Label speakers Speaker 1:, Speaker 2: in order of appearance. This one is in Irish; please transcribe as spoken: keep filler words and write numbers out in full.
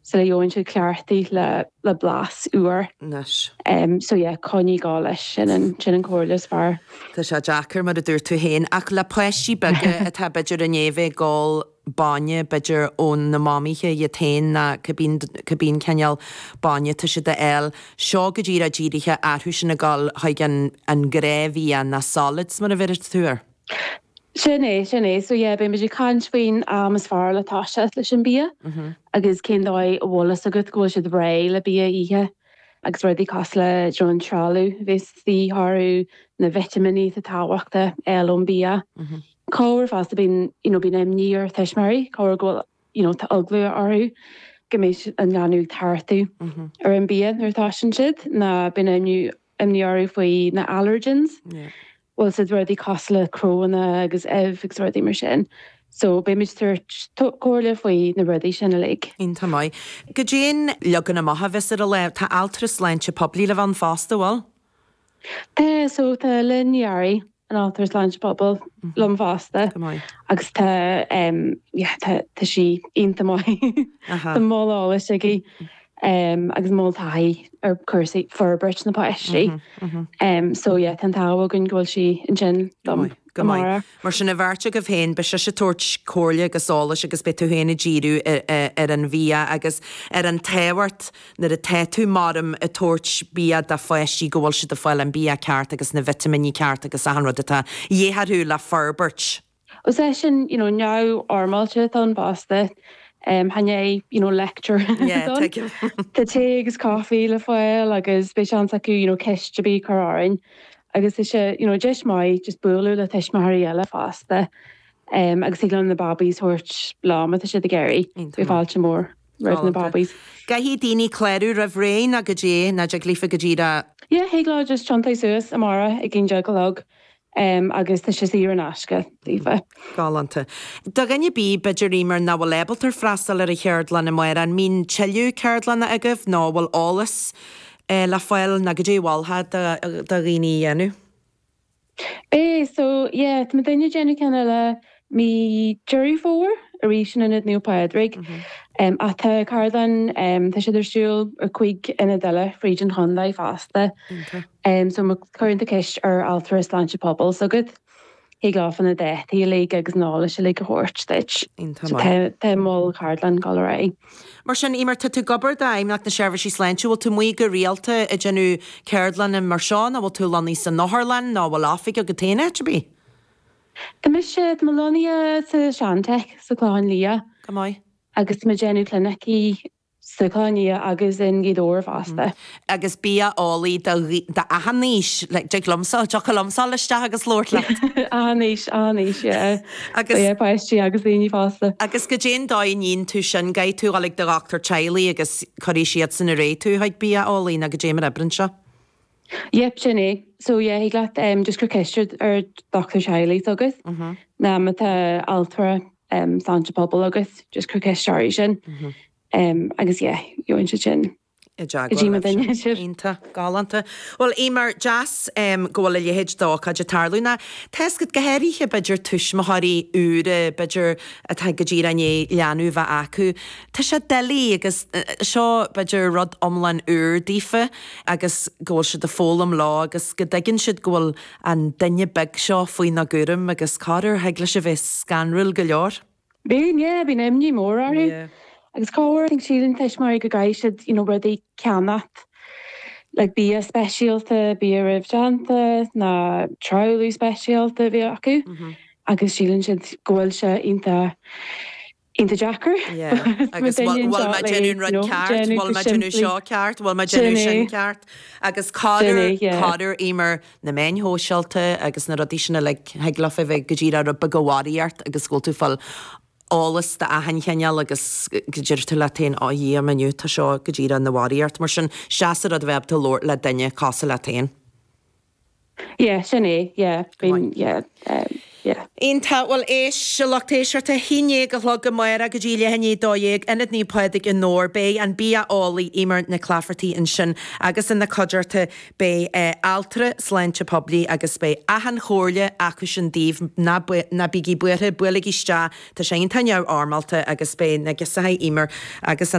Speaker 1: Sula gheobhann siad cleachtaithe le le blas úr.
Speaker 2: Anois.
Speaker 1: Um, so yeah, coinnigh ag gabháil leis sin an sin an chomhairle is fearr.
Speaker 2: Tá sé deacair mar a dúirt tú féin ach le páistí beaga atá b'fhéidir i ndiaidh bheith ag ól bainne b'fhéidir ó na mamaithe iad féin ná cibé cibé cineál bainne tá siad a fháil seo go díreach dírithe orthu sin ag gabháil chuig an an gnáthbhia na solids mar a bheir tú air.
Speaker 1: Sin é sin é so yeah, beimid ag caint faoin am is fearr le toiseacht leis an bia agus cén dóigh a bhfuil fhios agat go bhfuil siad réidh le bia a ithe agus rudaí cosúil le you know, an trealamh a bheas de dhíth orthu na vitimíní atá tábhachtach fháil ón bia. Corruair fosta bíonn you know, bíonn imní ar thuismitheoirí corruair go bhfuil you know, tá eagla orthu go mbeidh an leanbh ag tartú ar an bia nuair atá sin siad ná bíonn imní imní orthu faoi na allergens.
Speaker 2: Yeah.
Speaker 1: Bhfuil siad rudaí cosúil le cnónna agus ubh agus rudaí mar sin. So beimid ag tabhairt comhairle faoi na rudaí sin uilig.
Speaker 2: Iontach maith. Goidé an leagan amach a bheas ar an lá tá altra sláinte poiblí le bheith ann fosta bhfuil?
Speaker 1: Tá so tá Lynn Yarry an altra sláinte pobail liom fosta
Speaker 2: Go maith.
Speaker 1: agus tá um, yeah, tá tá sí iontach maith.
Speaker 2: Aha.
Speaker 1: Tá moll eolais aici um, agus moll taithí ar cúrsaí forbairt na páistí. Um, so yeah, tá an t-ádh againn go bhfuil sí ansin liom
Speaker 2: Go maith.
Speaker 1: amárach.
Speaker 2: Mar sin a bheirt agaibh féin beidh sise ag tabhairt comhairle agus eolais agus beidh tú féin ag díriú ar, ar, ar an bhia agus ar an tábhacht nuair atá tú mar ag tabhairt bia do pháistí go bhfuil siad ag fáil an bia ceart agus na vitimíní ceart agus achan rud atá de dhíth orthu le forbairt.
Speaker 1: Ó sé sin you know, neamhfhoirmeálta atá ann fosta. Um, chan é you know, lecture.
Speaker 2: Yeah,
Speaker 1: ann.
Speaker 2: tuigim.
Speaker 1: Tá tae agus caife le fáil agus beidh seans acu you know, ceist a bheith chur orainn. Agus is sé you know, deis maith just bualadh le tuismitheoirí eile fosta. Um, agus thig leo na babies a thabhairt leo má tá siad ag iarraidh.
Speaker 2: Iontach
Speaker 1: Bhí
Speaker 2: maith.
Speaker 1: fáilte mór roimh na
Speaker 2: Galánta.
Speaker 1: babies.
Speaker 2: Caithfidh daoine clárú roimh ré nó goidé nó dtig leofa go díreach
Speaker 1: Yeah, thig leo just tiontú suas amárach ag a haon déag a chlog um, agus tá sé saor in aisce daofa.
Speaker 2: Galánta. Do dhuine ar bith b'fhéidir mar nach bhfuil ábalta freastal ar an cheardlann amárach an mbíonn tuilleadh ceardlanna agaibh nó bhfuil eolas eh, le fáil nó goidé a mholfá do do dhaoine a dhéanamh.
Speaker 1: Bé so yeah, tá duine déanamh ceann eile mí Deireadh Fómhair arís in Ionad Naomh Pádraig. Um, ach tá ceardlann um, tá siad ar siúl ar cúig ionad eile fríd an chontae fosta. Um, so má chuireann tú ceist ar altra sláinte pobail s'agat. Thig leo na dátaí uilig agus an t-eolas uilig a thabhairt duit.
Speaker 2: Iontach
Speaker 1: So
Speaker 2: maith.
Speaker 1: tá tá moll ceardlann ag dul ar aghaidh.
Speaker 2: Mar sin Eimear tá tú ag obair d'Fheidhmeannacht na Seirbhísí Sláinte, bhfuil tú amuigh go rialta ag déanamh ceardlanna mar seo nó bhfuil tú lonnaithe san otharlann nó bhfuil oifig agat féin áit ar bith?
Speaker 1: Tá mise tá mé lonnaithe sa Seantech sa Chlochán Liath
Speaker 2: Go maith.
Speaker 1: agus tá mé ag déanamh clinicí sa Chlochán Liath agus in Gaoth Dobhair fosta.
Speaker 2: Agus bia-eolaí do achan aois le dtig liomsa tiocfaidh liomsa isteach agus labhairt leat.
Speaker 1: Aois aois
Speaker 2: Agus
Speaker 1: páistí agus daoine fásta.
Speaker 2: Agus goidé an dóigh a ndéanann tú sin caithfidh tú dul ag do dhochtúir teaghlaigh agus cuirfidh siad san ar aghaidh tú chuig bia-eolaí nó goidé mar a oibríonn sé.
Speaker 1: Yep, sin é. So yeah, thig leat um, just cur ceist ar dochtúir teaghlaigh agat. Ná má tá altra um, sláinte pobail agat, just cur ceist orthu sin. Um, agus yeah, gheobhaidh siad sin.
Speaker 2: I
Speaker 1: Go dtí mo duine sin.
Speaker 2: Iontach galánta. Well Eimear deas um, go bhfuil a leithéid d'ócáid ag tarlú ná Tá go háirithe b'fhéidir tuismitheoirí úra b'fhéidir atá go díreach i ndiaidh leanbh bheith acu. Tá sé doiligh agus eh, seo b'fhéidir rud iomlán úr daofa agus go bhfuil siad ag foghlaim leo agus go dtuigeann siad go bhfuil an duine beag seo faoina gcúram agus corruair thig leis a bheith scanrúil go leor.
Speaker 1: Bíonn yeah, bíonn imní mór orthu.
Speaker 2: Yeah.
Speaker 1: Agus corruair síleann tuismitheoirí go gcaithfidh siad you know, rudaí ceannacht. Like bia speisialta, bia roimhdhéanta, ná trealamh speisialta bhí acu.
Speaker 2: Mm -hmm.
Speaker 1: Agus síleann siad go bhfuil sé iontach iontach deacair.
Speaker 2: Yeah. Agus bhfuil mé ag déanamh rud ceart, bhfuil mé ag déanamh seo ceart, bhfuil mé ag déanamh sin ceart. Agus corruair corruair Eimear na meáin shóisialta agus na rudaí sin le thig leo bheith go díreach rud beag worried agus go bhfuil tú ag fáil eolas d'achan chineál agus go deir tú leat féin á Dhia inniu tá seo go díreach ina worried mar sin seasa rud bheith tú labhairt le duine cosúil leat féin.
Speaker 1: Yeah, sin é, yeah, bíonn yeah, um, yeah.
Speaker 2: Iontach bhuel éist a lucht éisteachta a haon déag a chlog amárach go dtí leath i ndiaidh a dó dhéag Ionad Naomh Pádraig i nDobhar beidh an bia-eolaí Eimear Nic Laifeartaigh ansin agus ina cuideachta beidh eh, altra sláinte poiblí agus beidh achan chomhairle acu sin daoibh ná ná bígí buartha buailigí isteach Tá sé iontach neamhfhoirmeálta agus beidh na gisaithe Eimear agus an